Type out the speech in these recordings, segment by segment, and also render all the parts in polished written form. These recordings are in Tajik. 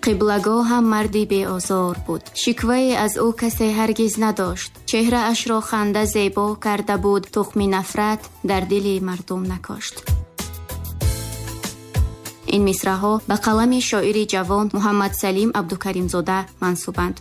Қиблагоҳам марди беозор буд, шиквае аз ӯ касе ҳаргиз надошт. Чеҳраашро ханда зебо карда буд, тухми нафрат дар дили мардум накошт. Ин мисраҳо ба қалами шоири ҷавон Муҳаммадсалим Абдукаримзода мансубанд.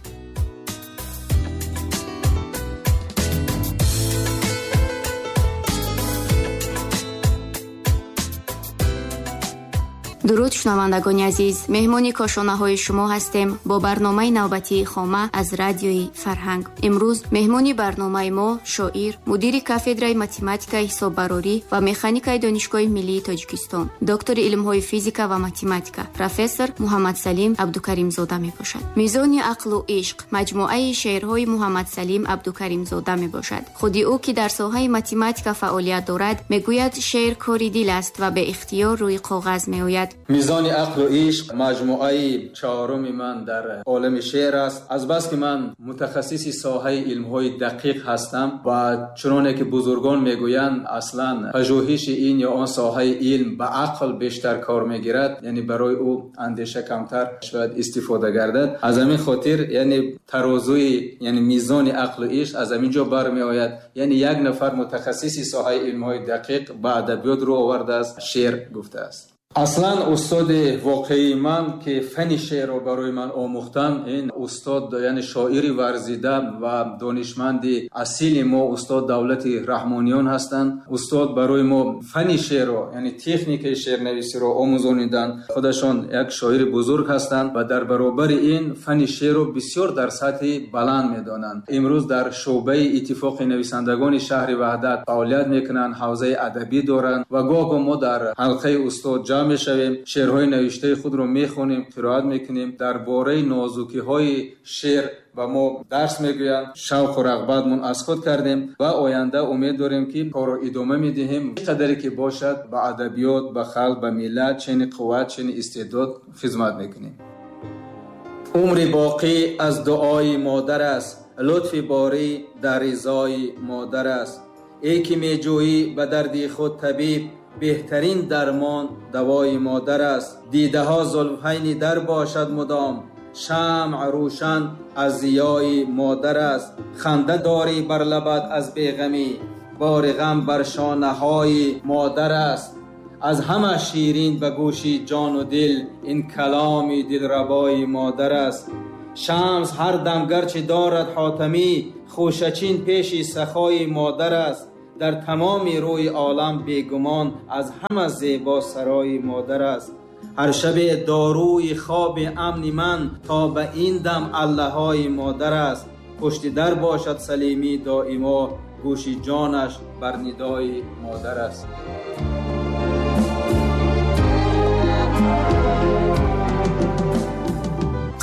Дуруд, шунавандагони азиз, меҳмони кошонаҳои шумо ҳастем бо барномаи навбатии Хома аз радиои Фарҳанг. Имрӯз меҳмони барномаи мо шоир, мудири кафедраи математикаи ҳисоббарорӣ ва механикаи Донишгоҳи миллии Тоҷикистон, доктори илмҳои физика ва математика, профессор Муҳаммадсалим Абдукаримзода мебошад. Мизони ақлу ишқ маҷмӯаи шеърҳои Муҳаммадсалим Абдукаримзода мебошад. Худи ӯ, ки дар соҳаи математика фаъолият дорад, мегӯяд, шеър кори дил аст ва беихтиёр рӯи коғаз меояд. Мизони ақлу ишқ маҷмӯаи чаҳоруми ман дар олами шеър аст. Азбаски ман мутахассиси соҳаи илмҳои дақиқ ҳастам ва чуноне ки бузургон мегӯянд, аслан пажӯҳиши ин ё он соҳаи илм ба ақл бештар кор мегирад, яъне барои ӯ андеша камтар шояд истифода гардад. Аз ҳамин хотир, яъне тарозуи, яъне мизони ақлу ишқ аз ҳамин ҷо бармеояд. Яъне як нафар мутахассиси соҳаи илмҳои дақиқ ба адабиёт рӯ овардааст, шеър гуфтааст. Аслан устоди воқеии ман, ки фани шеърро барои ман омӯхтан, ин устод, яъне шоири варзида ва донишманди асили мо, устод Давлати Раҳмониён ҳастанд. Устод барои мо фани шеърро, яъне техникаи шеърнависиро омӯзониданд. Худашон як шоири бузург ҳастанд ва дар баробари ин фани шеърро бисёр дар сатҳи баланд медонанд. Имрӯз дар шӯъбаи Иттифоқи нависандагони шаҳри Ваҳдат фаъолият мекунанд, ҳавзаи адабӣ доранд ва гоҳ-гоҳ мо дар ҳалқаи устод ҷамъ мешавем, шеърҳои навиштаи худро мехонем, қироат мекунем, дар бораи нозукиҳои шеър ба мо дарс мегӯянд. Шавқу рағбатмон аз худ кардем ва оянда умед дорем, ки корро идома медиҳем. Чӣ қадаре ки бошад, ба адабиёт, ба халқ, ба миллат чени қувват, чени истеъдод хизмат мекунем. Умри боқӣ аз дуои модар аст, лутфи борӣ дар ризои модар аст. Эй ки меҷӯӣ ба дарди худ табиб, беҳтарин дармон давои модар аст. Дидаҳо зулфайни дар бошад мудом, шамъ рӯшан аз зиёи модар аст. Ханда дорӣ бар лабат аз беғамӣ, бори ғам бар шонаҳои модар аст. Аз ҳама ширин ба гӯши ҷону дил, ин каломи дилрабои модар аст. Шамс ҳар дам гарчи дорад ҳотамӣ, хӯшачин пеши сахои модар аст. Дар тамоми рӯи олам бегумон, аз ҳама зебо сарои модар аст. Ҳар шабе дорӯи хоби амни ман, то ба ин дам аллаҳои модар аст. Пушти дар бошад салимӣ доимо, гӯши ҷонаш бар нидои модар аст.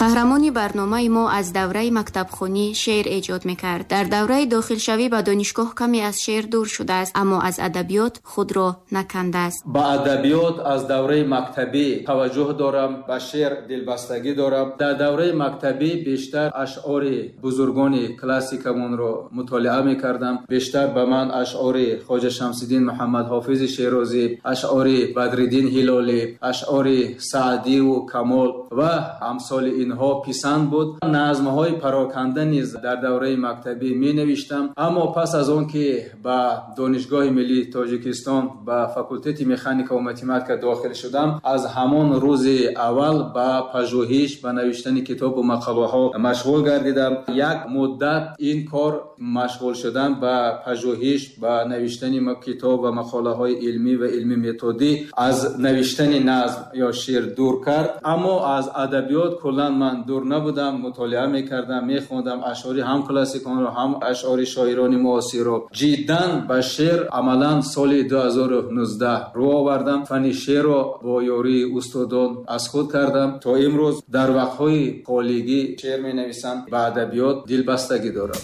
Қаҳрамони барномаи мо аз давраи мактабхонӣ шеър эҷод мекард. Дар давраи дохилшавӣ ба донишгоҳ каме аз шеър дур шудааст, аммо аз адабиёт худро накандааст. Ба адабиёт аз давраи мактабӣ таваҷҷӯҳ дорам, ба шеър дилбастагӣ дорам. Дар давраи мактабӣ бештар ашъори бузургони классикамонро мутолиа мекардам. Бештар ба ман ашъори Хоҷа Шамсиддин Муҳаммад Ҳофизи Шерозӣ, ашъори Бадриддин Ҳилолӣ, ашъори Саъдиву Камол ва амсоли инҳо писанд буд. Назмҳои пароканда низ дар давраи мактабӣ менавиштам. Аммо пас аз он ки ба Донишгоҳи миллии Тоҷикистон ба факултети механика ва математика дохил шудам, аз ҳамон рӯзи аввал ба пажӯҳиш, ба навиштани китобу мақолаҳо машғул гардидам. Як муддат ин кор машғул шудан ба пажӯҳиш, ба навиштани китоб ва мақолаҳои илмӣ ва илмӣ методӣ аз навиштани назм ё шеър дур кард. Аммо аз адабиёт куллан ман дур набудам, мутолиа мекардам, мехондам ашъори ҳам классиконро, ҳам ашъори шоирони муосирро. Ҷиддан ба шеър амалан соли 2019 рӯ овардам. Фани шеърро бо ёрии устодон аз худ кардам. То имрӯз дар вақтҳои холигӣ шеър менависам, ба адабиёт дилбастагӣ дорам.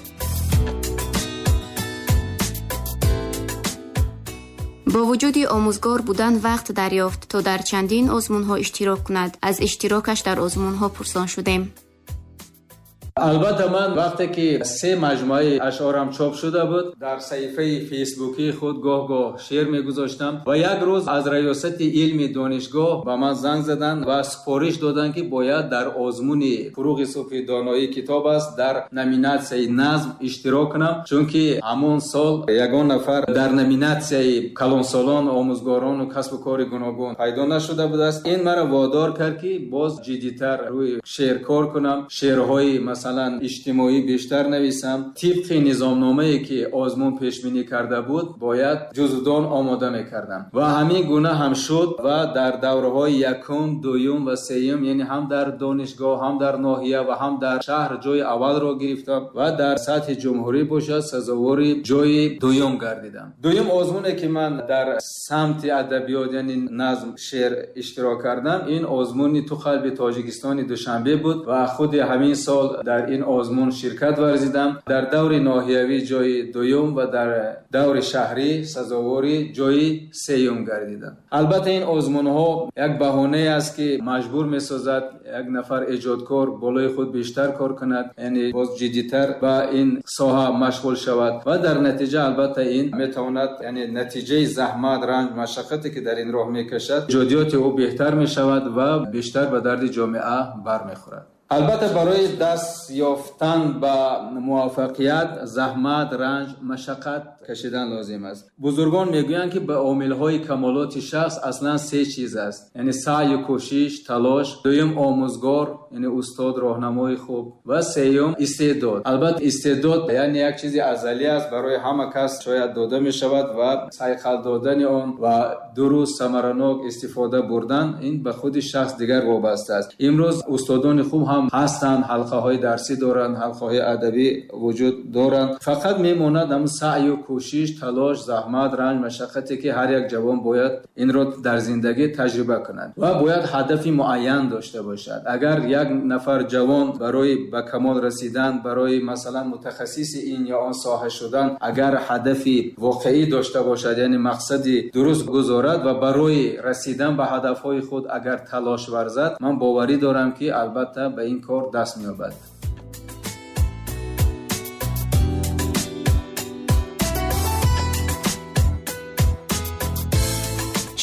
Бо вуҷуди омӯзгор будан вақт дарёфт, то дар чандин озмунҳо иштирок кунад. Аз иштирокаш дар озмунҳо пурсон шудем. Албатта ман вақте ки се маҷмӯаи ашъорам чоп шуда буд, дар саҳифаи фейсбукии худ гоҳ-гоҳ шеър мегузоштам ва як рӯз аз раёсати илми донишгоҳ ба ман занг заданд ва супориш доданд, ки бояд дар озмуни Фурӯғи субҳи доноӣ китоб аст дар номинатсияи назм иштирок кунам, чунки ҳамон сол ягон нафар дар номинатсияи калонсолон, омӯзгорон ва касбу кори гуногун пайдо нашуда будааст. Ин маро водор кард, ки боз ҷиддитар рӯи шеър кор кунам, шеърҳои масалан иҷтимоӣ бештар нависам. Тибқи низомномае ки озмун пешбинӣ карда буд, бояд ҷузвдон омода мекардам ва ҳамин гуна ҳам шуд ва дар давраҳои якум, дуюм ва сеюм, яъне ҳам дар донишгоҳ, ҳам дар ноҳия ва ҳам дар шаҳр ҷои аввалро гирифтам ва дар сатҳи ҷумҳурӣ бошад сазовори ҷои дуюм гардидам. Дуюм озмуне ки ман дар самти адабиёт, яъне назм, шеър иштирок кардам, ин озмуни ту қалби Тоҷикистони Душанбе буд ва худи ҳамин сол дар ин озмун ширкат варзидам. Дар даври ноҳиявӣ ҷои дуюм ва дар даври шаҳрӣ сазовори ҷои сеюм гардидам. Албатта ин озмунҳо як баҳонае аст, ки маҷбур месозад як нафар эҷодкор болои худ бештар кор кунад, яъне боз ҷиддитар ба ин соҳа машғул шавад ва дар натиҷа албатта ин метавонад, яъне натиҷаи заҳмат, ранҷ, машаққате ки дар ин роҳ мекашад, эҷодиёти ӯ беҳтар мешавад ва бештар ба дарди ҷомеа бармехӯрад. Албатта барои даст ёфтан ба муваффақият заҳмат, ранҷ, машаққат кашидан лозим аст. Бузургон мегӯянд, ки ба омилҳои камолоти шахс аслан се чиз аст, яъне саъю кӯшиш, талош, дуюм омӯзгор, яъне устод, роҳнамои хуб ва сеюм истеъдод. Албатта истеъдод яъне як чизи азалӣ аст, барои ҳама кас шояд дода мешавад ва сайқал додани он ва дуруст самаранок истифода бурдан ин ба худи шахс дигар вобаста аст. Имрӯз устодони хуб ҳам ҳастанд, ҳалқаҳои дарсӣ доранд, ҳалқаҳои адабӣ вуҷуд доранд. Фақат мемонад ҳамун саъю кӯшиш, талош, заҳмат, ранҷ, машаққате ки ҳар як ҷавон бояд инро дар зиндагӣ таҷриба кунад ва бояд ҳадафи муайян дошта бошад. Агар як нафар ҷавон барои ба камол расидан, барои масалан мутахассиси ин ё он соҳа шудан, агар ҳадафи воқеӣ дошта бошад, яъне мақсади дуруст гузорад ва барои расидан ба ҳадафҳои худ агар талош варзад, ман боварӣ дорам, ки албатта ба ин кор даст меёбад.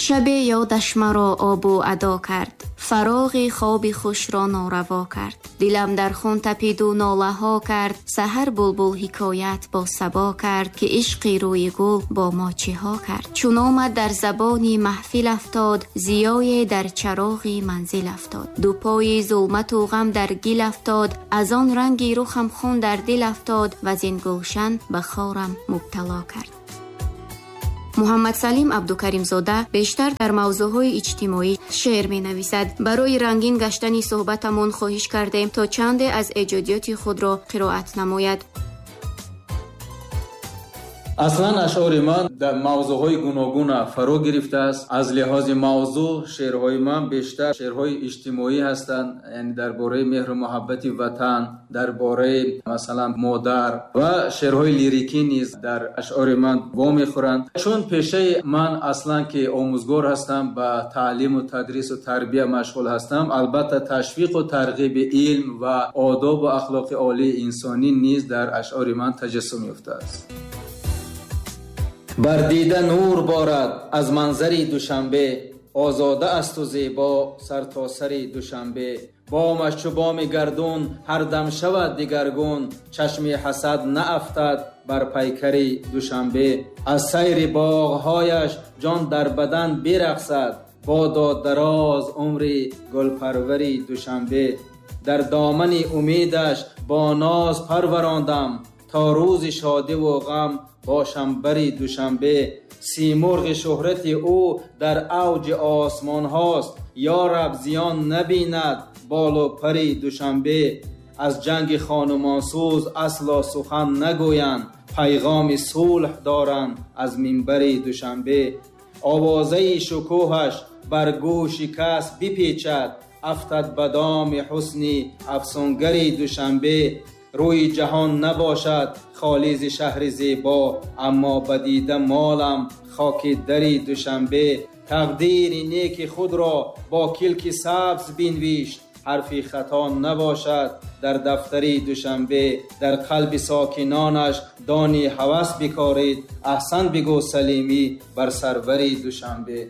Шабе ёдаш маро обу адо кард, фароғи хоби хушро нораво кард. Дилам дар хун тапиду нолаҳо кард, саҳар булбул ҳикоят бо сабо кард, ки ишқи рӯи гул бо мо чиҳо кард. Чун омад дар забони маҳфил афтод, зиёе дар чароғи манзил афтод. Ду пои зулмату ғам дар гил афтод, аз он ранги рухам хун дар дил афтод, ваз ин гулшан ба хорам мубтало кард. Муҳаммадсалим Абдукаримзода бештар дар мавзӯъҳои иҷтимоӣ шеър менависад. Барои рангин гаштани суҳбатамон хоҳиш кардем, то чанде аз эҷодиёти худро қироат намояд. Аслан ашъори ман дар мавзӯъҳои гуногун фаро гирифтааст. Аз лиҳози мавзӯъ шеърҳои ман бештар шеърҳои иҷтимоӣ ҳастанд, яъне дар бораи меҳру муҳаббати ватан, дар бораи масалан модар ва шеърҳои лирикӣ низ дар ашъори ман вомехӯранд. Чун пешаи ман аслан ки омӯзгор ҳастам, ба таълиму тадрису тарбия машғул ҳастам, албатта ташвиқу тарғиби илм ва одобу ахлоқи олии инсонӣ низ дар ашъори ман таҷассум ёфтааст. Бар дида нур борад аз манзари Душанбе, озода асту зебо сартосари Душанбе. Бомаш чу боми гардун ҳар дам шавад дигаргун, чашми ҳасад наафтад бар пайкари Душанбе. Аз сайри боғҳояш ҷон дар бадан бирақсад, бодо дароз умри гулпарвари Душанбе. Дар домани умедаш бо ноз парварондам, то рӯзи шодиву ғам бошам бари Душанбе. Симурғи шӯҳрати ӯ дар авҷи осмонҳост, ё раб зиён набинад болу пари Душанбе. Аз ҷанги хонумонсӯз асло сухан нагӯянд, пайғоми сулҳ доранд аз минбари Душанбе. Овозаи шукӯҳаш бар гӯши кас бипечад, афтад ба доми ҳусни афсунгари Душанбе. Рӯи ҷаҳон набошад холӣ зи шаҳри зебо, аммо ба дида молам хоки дари Душанбе. Тақдири неки худро бо килки сабз бинвишт, ҳарфи хато набошад дар дафтари Душанбе. Дар қалби сокинонаш дони ҳавас бикорид, аҳсан бигӯ Салимӣ бар сарвари Душанбе.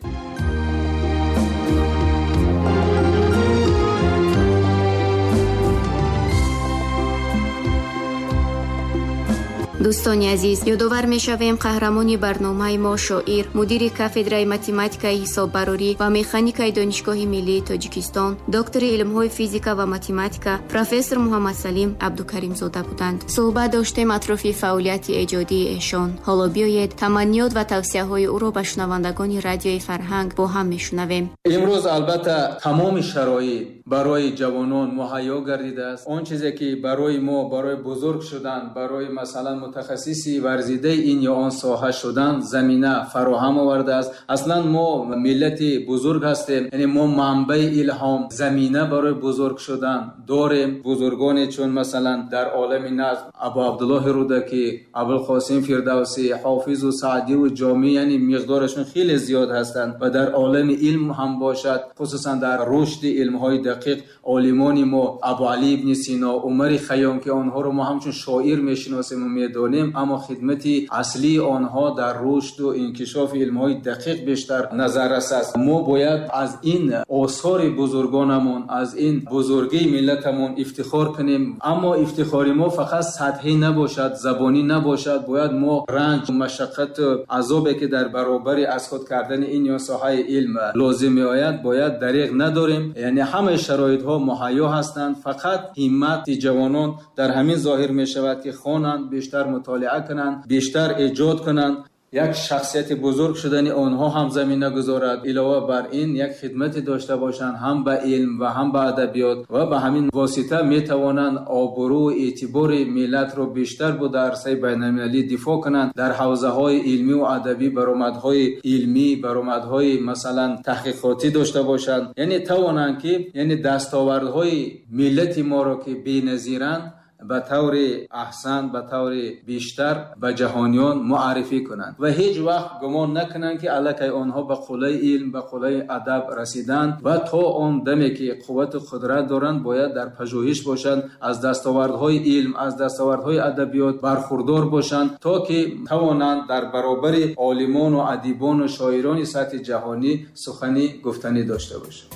Дӯстони азиз, ёдовар мешавем қаҳрамони барномаи мо шоир, мудири кафедраи математикаи ҳисоббарорӣ ва механикаи Донишгоҳи миллии Тоҷикистон, доктори илмҳои физика ва математика, профессор Муҳаммадсалим Абдукаримзода буданд. Суҳбат доштем атрофи фаъолияти эҷодии эшон. Ҳоло биёед таманниёт ва тавсияҳои ӯро ба шунавандагони радиои Фарҳанг бо ҳам мешунавем. Имрӯз албатта тамоми шароит барои ҷавонон муҳайё гардидааст. Он чизе ки барои мо, барои бузург шудан, барои масалан мутахассиси варзидаи ин ё он соҳа шудан замина фароҳам овардааст. Аслан мо миллати бузург ҳастем, яъне мо манбаи илҳом, замина барои бузург шудан дорем. Бузургоне чун масалан дар олами назм Абу Абдуллоҳи Рӯдакӣ, Абулқосим Фирдавсӣ, Ҳофизу Саъдиву Ҷомӣ, яъне миқдорашон хеле зиёд ҳастанд ва дар олами илм ҳам бошад, хусусан дар рушди илмҳои дақиқ олимони мо Абу Алӣ ибни Сино, Умари Хайём, ки онҳоро мо ҳамчун шоир мешиносем ва медонем, аммо хидмати аслии онҳо дар рушду инкишофи илмҳои дақиқ бештар назаррас аст. Мо бояд аз ин осори бузургонамон, аз ин бузургии миллатамон ифтихор кунем, аммо ифтихори мо фақат сатҳӣ набошад, забонӣ набошад. Бояд мо ранҷ, машаққату азобе ки дар баробари аз худ кардани ин ё соҳаи илм лозим меояд, бояд дариғ надорем. Яъне ҳамаи шароитҳо муҳайё ҳастанд, фақат ҳиммати ҷавонон дар ҳамин зоҳир мешавад ки хонанд, бештар мутолиа кунанд, бештар эҷод кунанд. Як шахсияти бузург шудани онҳо ҳам замина гузорад. Илова бар ин як хидмате дошта бошанд ҳам ба илм ва ҳам ба адабиёт ва ба ҳамин восита метавонанд обрӯ ва эътибори миллатро бештар бо дар арсаи байналмилалӣ дифоъ кунанд. Дар ҳавзаҳои илмӣ ва адабӣ баромадҳои илмӣ, баромадҳои масалан таҳқиқотӣ дошта бошанд, яъне тавонанд ки яъне дастовардҳои миллати моро ки беназиранд ба таври аҳсан, ба таври бештар ба ҷаҳониён муаррифӣ кунанд ва ҳеҷ вақт гумон накунанд ки аллакай онҳо ба қуллаи илм, ба қуллаи адаб расиданд ва то он даме ки қуввату қудрат доранд бояд дар пажӯҳиш бошанд, аз дастовардҳои илм, аз дастовардҳои адабиёт бархурдор бошанд то ки тавонанд дар баробари олимону адибону шоирони сатҳи ҷаҳонӣ сухани гуфтанӣ дошта бошанд.